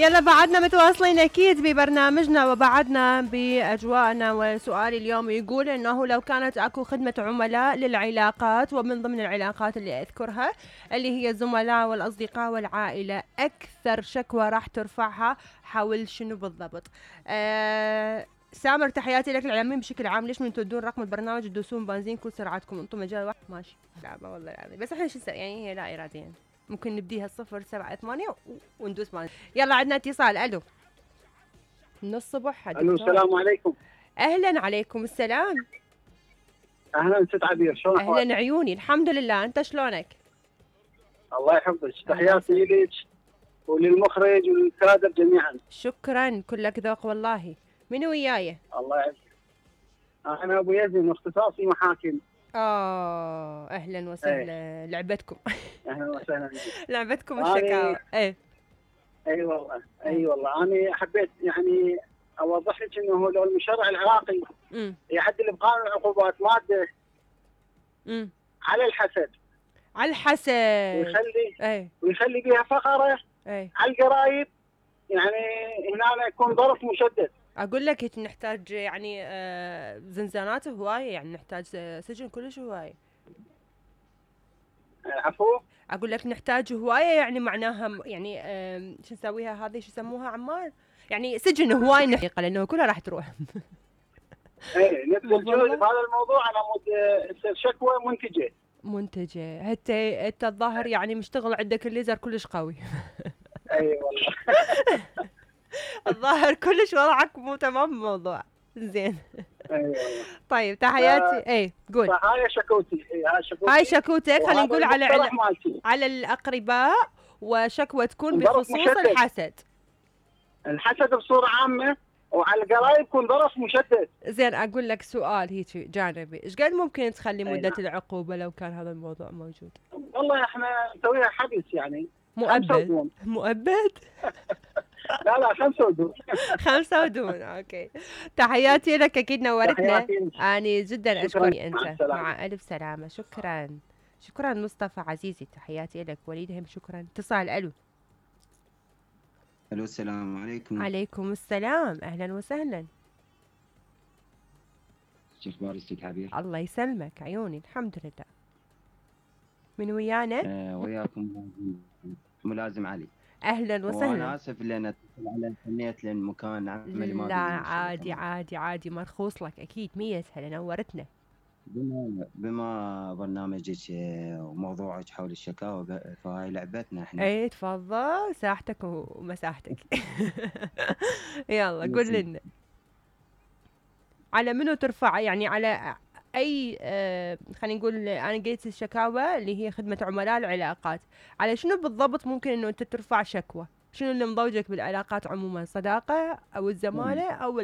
يلا بعدنا متواصلين أكيد ببرنامجنا وبعدنا بأجواءنا. وسؤالي اليوم يقول أنه لو كانت أكو خدمة عملاء للعلاقات، ومن ضمن العلاقات اللي أذكرها اللي هي الزملاء والأصدقاء والعائلة، أكثر شكوى راح ترفعها حول شنو بالضبط؟ سامر تحياتي لك العالمين بشكل عام. ليش من تدون رقم البرنامج تدوسون بنزين كل سرعتكم؟ انتم مجال واحد ماشي. لا والله العظيم، بس احنا شو يعني هي لا اراديا ممكن نبديها 078 وندوس بنزين. يلا عندنا اتصال. الو من الصبح. الو السلام عليكم. اهلا عليكم السلام. اهلا ست عبير، شلون احوالك؟ اهلا عيوني، الحمد لله، انت شلونك؟ الله يحفظك، تحياتي لك وللمخرج وللكادر جميعا. شكرا، كلك ذوق والله. من وياي؟ الله يعزك. انا ابو يزن واختصاصي محاكم. اهلا وسهلا. لعبتكم. اهلا وسهلا. لعبتكم الشكاوى. اي والله اي والله. انا حبيت يعني اوضح لك انه لو المشرع العراقي يعدل بقانون العقوبات ماده على الحسد، على الحسد، ويخلي بها فقره على القرايب، يعني هنا يكون ظرف مشدد. اقول لك نحتاج يعني زنزانات هوايه، يعني نحتاج سجن كلش هوايه. عفوا؟ اقول لك نحتاج هوايه، يعني معناها يعني شو نسويها هذه، شو يسموها عمار، يعني سجن هواي نحقيقه لانه كلها راح تروح. ايه نبذل جهد بهذا الموضوع على مود تصير شكوى منتجه. انت الظاهر يعني مشتغل عندك الليزر كلش قوي. اي والله. الظاهر كلش وضعك مو تمام الموضوع. زين. اي والله. طيب تحياتي. قول. هاي شكوتي. هاي شكوتك. خلينا نقول على الاقرباء، وشكوى تكون بخصوص الحسد بصوره عامه، وعلى القرايب يكون ظرف مشدد. زين، اقول لك سؤال هيك جانبي، ايش قد ممكن تخلي مدة العقوبة لو كان هذا الموضوع موجود؟ والله احنا نسويها حبس يعني مؤبد. لا 5 ودون. 5 ودون. اوكي. تحياتي لك، اكيد نورتنا. اني جدا اشكرك انت. مع الف سلامة. شكرا مصطفى عزيزي، تحياتي لك. وليد هم شكرا. اتصال. الو السلام عليكم. عليكم السلام، اهلا وسهلا. شو اخبارك ست عبير؟ الله يسلمك عيوني، الحمد لله. من ويانا؟ وياكم ملازم علي. اهلا وسهلا. وانا اسف لان تنيت لان مكان عملي ما. لا عادي مرخوص لك اكيد. 100 هلا، نورتنا. بما برنامجك وموضوعك حول الشكاوى، فهاي لعبتنا احنا. تفضل، ساحتك ومساحتك. يلا قول لنا على منو ترفع، يعني على اي خلينا نقول انا قلت الشكاوى اللي هي خدمة عملاء العلاقات، على شنو بالضبط ممكن انه انت ترفع شكوى؟ شنو اللي مضوجك بالعلاقات عموما، صداقة او الزمالة او